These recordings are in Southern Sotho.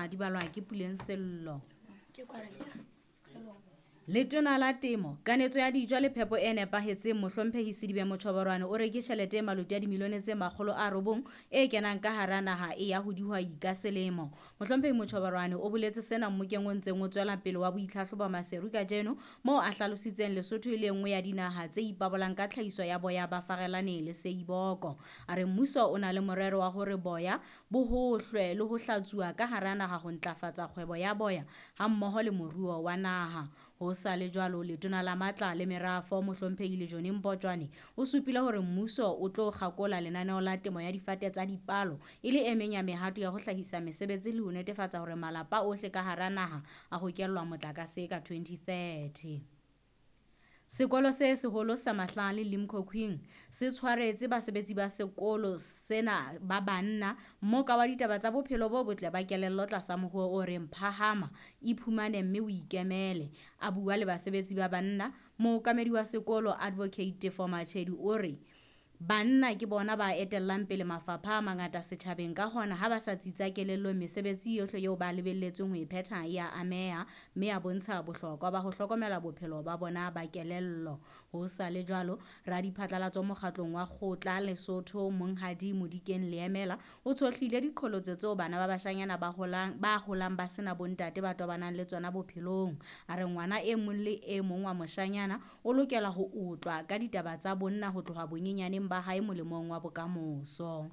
Tsena di balwa ke Puleng Sello. Letona la Temo, Kanetso ya Dijo le Phepo e Nepahetseng Mohlomphehi Sedibe Mochoborwane o re ke tjhelete e maloti a dimilione tse 900 e kenang ka hara naha e ya ho dihwai ka selemo. Mohlomphehi Mochoborwane o boletse sena mmokeng o ntseng o tswela pele wa boitlhahlobo Maseru kajeno moo a hlalositseng Lesotho e le nngwe ya dinaha tse ipabolang ka tlhahiso ya boya ba farelane le seiboko. A re mmuso o na le morero wa hore boya bo hohlwe le ho hlatsuwa ka hara naha ho ntlafatsa kgwebo ya boya hammoho le moruo wa naha. Ho sa le jwalo, Letona la Matla le Merafo Mohlomphehi Lejone Mpotjwane o supile hore mmuso o tlo kgakola lenaneo la temo ya difate tsa dipalo e le e meng ya mehato ya ho hlahisa mesebetsi le ho netefatsa hore malapa ohle ka hara naha a hokellwa motlakase ka 2030. Sekolo se seholo sa Mahlale Limkokwing se tshwaretse basebetsi ba sekolo sena ba banna mmoka wa ditaba tsa bophelo bo botle ba kelello tlasa mohuo o reng Phahama, Iphumane mme o Ikemele. A bua le basebetsi ba banna, mookamedi wa sekolo Advocate Tefo Machedi o re banna ke bona ba etellang pele mafapha a mangata setjhabeng, ka hona ha ba sa tsitsa kelellong mesebetsi yohle eo ba lebelletsweng ho e phetha e a ameha, mme a bontsha bohlokwa ba ho hlokomela bophelo ba bona ba kelello. Ho sa le jwalo, radiphatlalatso mokgatlong wa Kgotla Lesotho Monghadi Modikeng Leemela o tshohlile diqholotso tseo bana ba bashanyana ba holang ba sena bontate ba tobanang le tsona bophelong. A re ngwana e mong le e mong wa moshanyana o lokela ho otlwa ka ditaba tsa bonna ho tloha bonyenyaneng ba hae molemong wa bokamoso.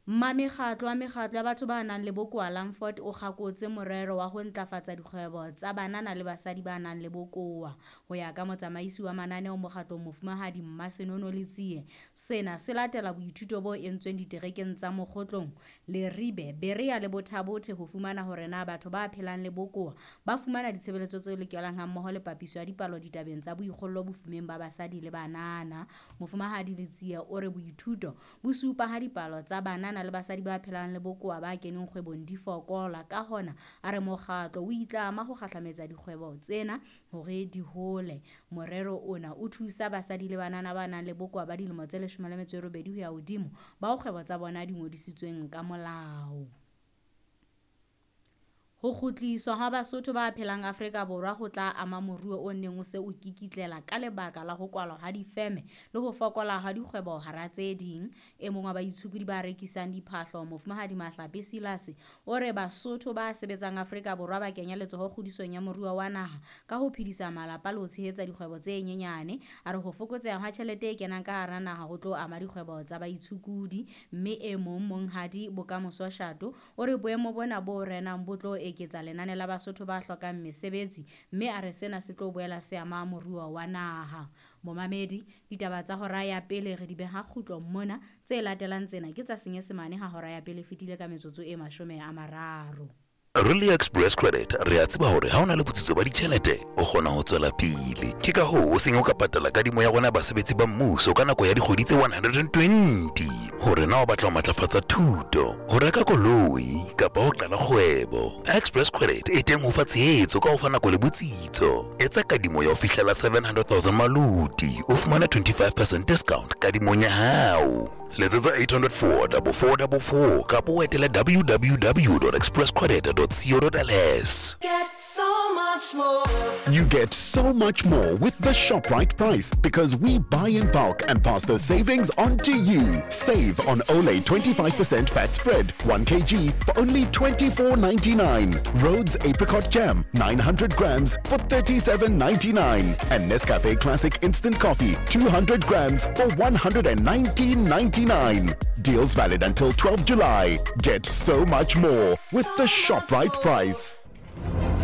Mmamekgatlo wa mekgatlo ya batho ba nang le bokowa Langford o kgakotse morero wa ho ntlafatsa dikgwebo tsa banana le basadi ba nang le bokowa. Ho ya ka motsamaisi wa mananeo mokgatlong Mofumahadi Mmasenono Letsie, sena se latela boithuto bo entsweng diterekeng tsa Mokgotlong, Leribe, Berea le Bothabothe ho fumana hore na batho ba phelang le bokowa ba fumana ditshebeletso tse lokelang hammoho le papiso ya dipalo ditabeng tsa boikgollo bofumeng ba basadi le banana. Mofumahadi Letsie o re boithuto bo supa ha dipalo tsa banana le basadi ba phelang le bokowa ba keneng kgwebong di fokola, ka hona a re mokgatlo o itlama ho kgahlametsa dikgwebo tsena hore di hole. Morero ona o thusa basadi le banana ba nang le bokowa ba dilemo tse 18 ho ya hodimo bao kgwebo tsa bona di ngodisitsweng ka molao. Ho kgutliswa ha Basotho ba phelang Afrika Borwa ho tla ama moruo o neng o se o kikitlela ka lebaka la ho kwalwa ha difeme le ho fokola ha dikgwebo hara tse ding. E mong wa baitshokodi ba rekisang diphahlo Mofumahadi Mahlape Silas o re Basotho ba sebetsang Afrika Borwa ba kenya letsoho kgodisong ya moruo wa naha ka ho phedisa malapa le ho tshehetsa dikgwebo tse nyenyane. A re ho fokotseha ha tjhelete e kenang ka hara naha ho tlo ama dikgwebo tsa baitshokodi. Mme e mong Monghadi Bokamoso Shato o re boemo bona bo renang bo tlo eketsa lenane la Basotho ba hlokang mesebetsi, mme a re sena se tlo boela se ama moruo wa naha. Momamedi, ditaba tsa hora ya pele re di beha kgutlo mona, tse latelang tsena ke tsa Senyesemane ha hora ya pele fetile ka metsotso e 30. Really Express Credit re a tseba hore ha o na le botsitso ba ditjhelete o kgona ho tswela pele. Ke ka hoo o seng o ka patala kadimo ya rona basebetsi ba mmuso ka nako ya dikgwedi tse 120. Hore na o batla ho matlafatsa thuto, ho reka koloi kapa ho qala kgwebo, Express Credit e teng ho fa tshehetso ka ho fa nako le botsitso. Etsa kadimo ya ho fihlela 700,000 maluti, o fumana 25% discount kadimong ya hao. Letsetsa 804 4444 kapa o etele www.expresscredit.co.ls. Get so much more. You get so much more with the ShopRite price because we buy in bulk and pass the savings on to you. Save on Olay 25% fat spread 1 kg for only $24.99. Rhodes apricot jam 900 grams for $37.99 and Nescafe Classic instant coffee 200 grams for $119.99. Deals valid until 12 July. Get so much more with the ShopRite price.